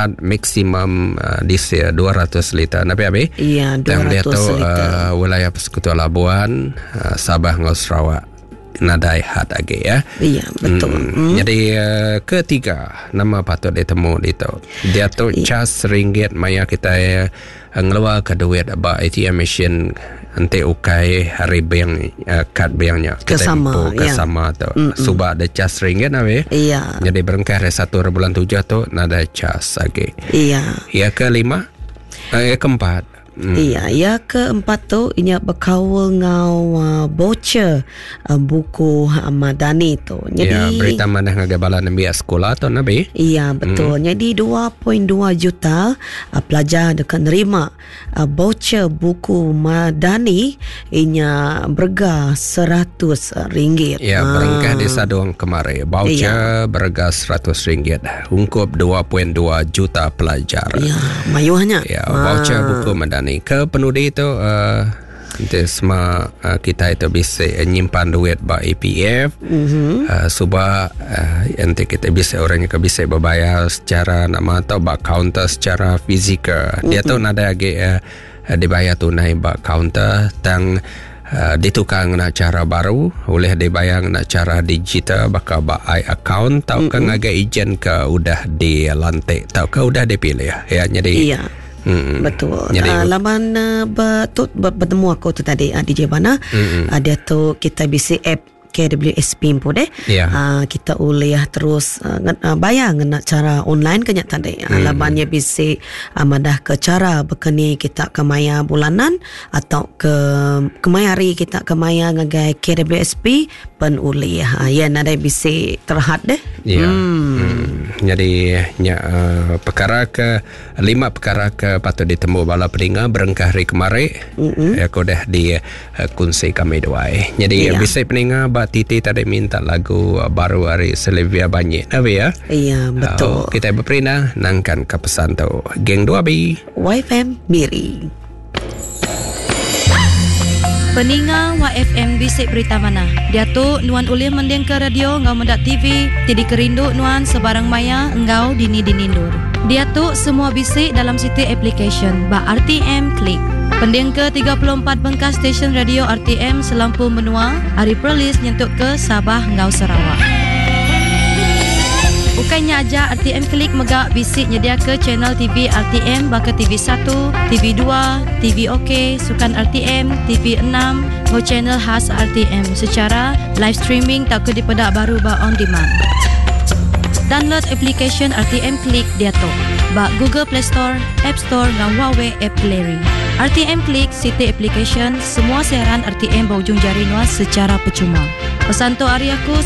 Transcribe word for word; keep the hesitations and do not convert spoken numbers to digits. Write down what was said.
had maksimum uh, diesel dua ratus liter. Nabi abi? Iya, dua ratus liter. Uh, wilayah Persekutuan Labuan, uh, Sabah dengan Sarawak nadai had lagi ya. Iya, betul. Hmm. Hmm. Jadi uh, ketiga nama patut ditemu itu. Dia tu ya. Cas ringgit maya kita uh, ngeluar ke duit ba A T M machine ente ukai hari bank uh, kad banknya kesama ke ya. Sama tu. Mm-mm. Subak ada cas ringgit nabi. Iya. Jadi berengkah dari satu bulan tujuh tu nadai cas lagi. Iya. Ya kelima, uh, ya keempat. Hmm. Iya, ya keempat tu inya berkaul ngau uh, voucher uh, buku uh, Madani tu. Jadi ya, berita mana ngagai bala nembiak sekolah tu nabi? Iya, betul. Hmm. Jadi dua perpuluhan dua juta uh, pelajar dekat nerima uh, voucher buku Madani inya berga seratus ringgit. Ya, ha. Berengkah di Sadong kemari. Voucher ya. Berga seratus ringgit. Ungkup dua perpuluhan dua juta pelajar. Ya, mayuhnya. Ya, voucher ha. buku Madani. Ke penudi itu uh, nanti semua uh, kita itu bisa nyimpan duit ba E P F. Mm-hmm. Uh, suba uh, nanti kita bisa orang yang bisa berbayar secara nama atau ba counter secara fizikal. Dia mm-hmm. tu nada lagi uh, dibayar tunai ba counter tang uh, ditukar ngena cara baru boleh dibayar ngena cara digital bakal ba i account tau ke mm-hmm. ngagai ejen ke udah dilantik tau ke udah dipilih ya. Jadi iya. Hmm. Betul. Jadi, uh, laman uh, betul bertemu aku tu tadi uh, D J Bana. Mm-hmm. Uh, dia tu kita bisi app K W S P pun deh. Yeah. Uh, kita boleh terus uh, bayar ngena cara online kenya tadi. Uh, mm. Lamannya bisi uh, madah ke cara bekeni kita ke maya bulanan atau ke kemayari kita ke maya ngagai K W S P pen ulih. Uh, ya nadai bisi terhad deh. Ya. Yeah. Hmm. Hmm. Jadi nya uh, perkara ke lima perkara ke patut ditemu bala peninga berengkah hari kemari. Mm-hmm. Ya aku dah di uh, kunci kami dua. Jadi yeah. bisi peninga ba Titi tadi minta lagu baru hari Sylvia Banyik. Nabi ya? Iya, betul. Uh, kita berperina nangkan ke pesan tu. Geng dua B. Y F M Miri. Peninga Y F M bisik berita mana? Dia tu nuan ulih mending ke radio ngau mendak T V, tidi kerindu nuan sebarang maya engau dini dinindur. Dia tu semua bisik dalam siti application ba R T M Klik. Pending ke tiga puluh empat bengkas stesen radio R T M selampu menua, hari Perlis nyentuk ke Sabah ngau Sarawak. Bukannya aja R T M Klik megak bisik nyedia ke channel T V R T M baka T V satu, T V dua, T V OK, Sukan R T M, T V enam, ngau channel khas R T M secara live streaming tak ke dipedak baru ba on demand. Download application R T M Klik dia tu. Ba Google Play Store, App Store ngau Huawei App Gallery. R T M Klik City Application semua siaran R T M berujung jari nuas secara percuma. Pesan tu hari aku